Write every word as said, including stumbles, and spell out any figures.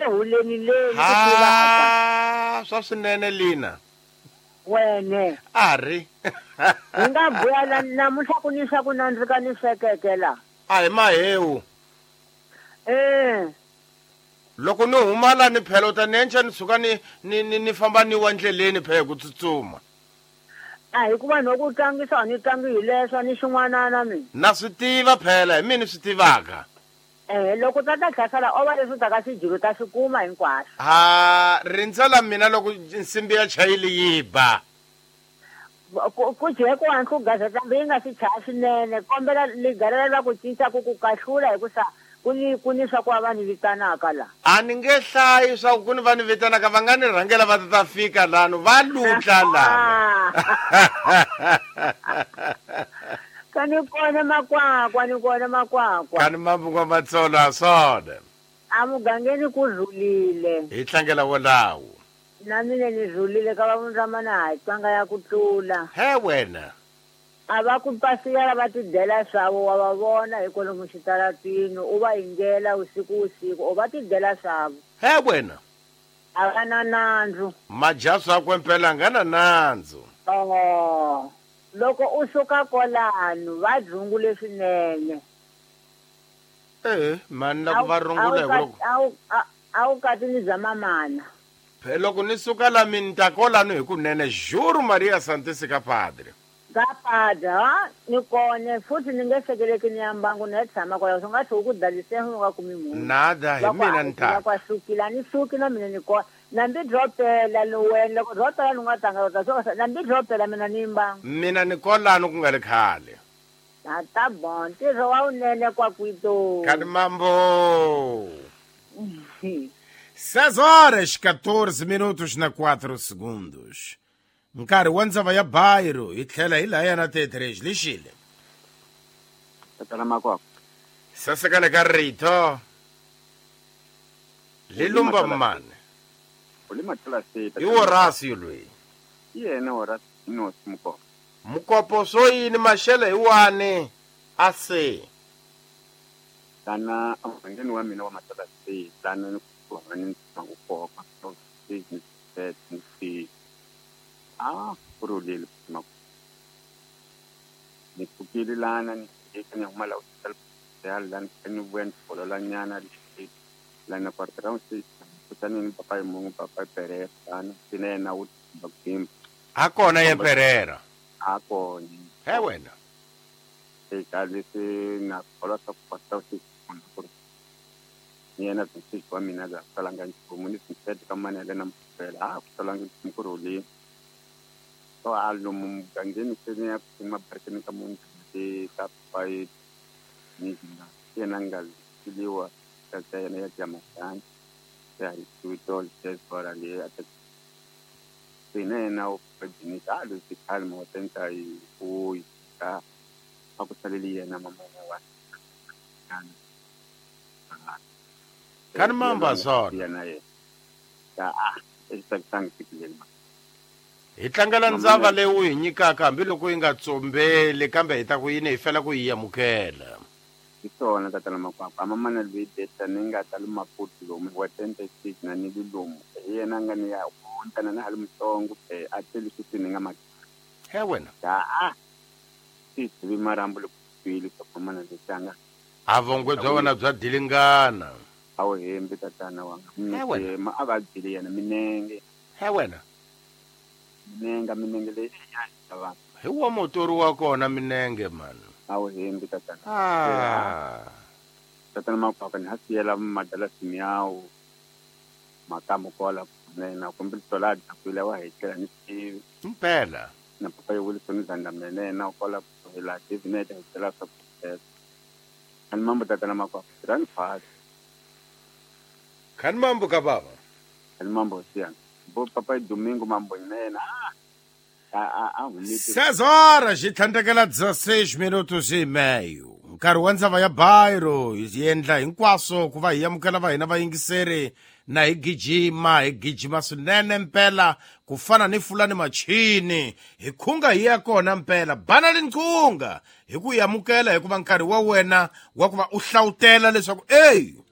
huleni leni ha swa swinene lina wene a ri hi nga buya la namuntlha ku ni swa ku nandzika ni swekeke la a hi mahewu eh loko ni huma la ni phela u ta ni enca ni suka ni ni ni ni famba ni wa ndleleni phela ku tsutsuma a hikuva no ku tlangisa a ni tlangi hi leswo ni xin'wanana mina na swi tiva phela hi mina swi tivaka eh loko tata hlasela o va leswi taka swijilo ta swi kuma hinkwaswo ha rindzela mina loko nsimbi ya chayili yi ba ku ku jeko wa ku gaza yi nga swi chaya swinene kombela ligalela la ku cinca ku ku kahlula hi ku sa ku ni ku ni swa ku va ni vitanaka la a ni nge hlayi swa ku ni va ni vitanaka va nga ni rhangela va ta ta fika lano va lutla lava ka ni kona makwakwa ni kona makwakwa ka ni mabunga matsolo a swona a mugangeni ku rhulile hi tlangela wolawo na mina ni rhulile ka va vundramana ha twanga ya ku tlula he wena a va ku pasiyela va tidyela swavo wa va vona hi kwalomu xitaratini u va yingela usiku usiku u va tidyela swavo he wena a va na nandzu madya swakwe mpela nga na nandzu oh loko u suka kwalano va dzungule swinene eh mani la ku va rungula hi loko a wu kati ni bya mamana phela loko ni suka la mi ni ta kolano hi kunene juro Maria Santissima Padre ka padre ha ni kone futhi ni nge sekeleki ni ya mbangu ni ya tshama kwalaho swi nga tlhe ku dalise u nga kumi munhu nada hi mina ni ta kwa sukile ni suki na mina ni kona nambi byo pela ni wena loko byo pela ni nga tanga ta swo nambi byo pela mina ni mbangu mina ni kolano ku nga ri khale a ta bon ntirho wa wunene kwa kwito kani mambo seis horas quatorze minutos na quatro segundos nkarhi wa ndzava ya Bairo hi tlhela hi laya na T três lexile tatana makwakwa sasekane ka rito lilumba mane i Horacio loyi yena Horacio Inosi Mukopo Mukopo swo yini maxele hi wani a se tana emugangeni wa mina wa matala se tana ni ku ni ku koka ni ni ah kurulile ma ni pfukile lana ni ni huma la ya lana ni vuya ni bolola nyana lana quarter round six kutani ni papa mungu papa Pereira tana sine yena wu bakimba a kona ye Pereira a kona he wena eka leswi na kholwa swa ku quarter six ni yena six wa mina ga salanga nchumu ni six ka manele na mpela a ku salanga nchumu ku rhulile so a lomu mugangeni se ni ya ku mabarekeni ka munhu ti ka papai ni yena nga siliwa ka ta yena ya jamasani ya hi tuto lesbora le a ta sine na u pajini ka lo ti kalmo tenta i u ka a ku saleli yena mama wa kan mamba zona yena ye ka a e tikileni hi tlangela ndzava leyi u hi nyikaka hambiloko yi nga tsombeli kambe hi ta ku yini hi fela ku yi amukela hi swona tatana makwakwa mamana loyi beta ni nga ta le Maputo lomu wa tente six na ni le lomu hi yena nga ni ya ntana na ha le mutsongo a tele swi ni nga ma he wena a a swi vi marambu loko twile swa mamana lexanga a vongwe bya wena bya dilingana a wu hembi tatana wanga ma a va byeli yena minenge he wena minenge minenge leyi ya vanhu hi wa motori wa kona minenge man a wu hembi tatana ah tatana makwakwa ni ha siyela madala simiyawu makamu kola nena kumbe tola dakwile wa hetela ni tivi mpela na papa yi Wilson Zanda mene na kola la tivi hetela swa ani mambo tatana makwakwa rani fast kan mambo ka baba ani mambo siyana bo papai domingo mambo nena a a a seis horas hi tlhandlekela dezesseis minutos e meio nkarhi wa ndzava ya Bairo hi endla hinkwaswo ku va hi amukela va hina vayingiseri na hi gijima hi gijima swinene mpela ku fana ni fulani machini hi khunga hi ya kona mpela bana linqunga hi ku yi amukela hikuva nkarhi wa wena wa ku va u hlawutela leswaku ey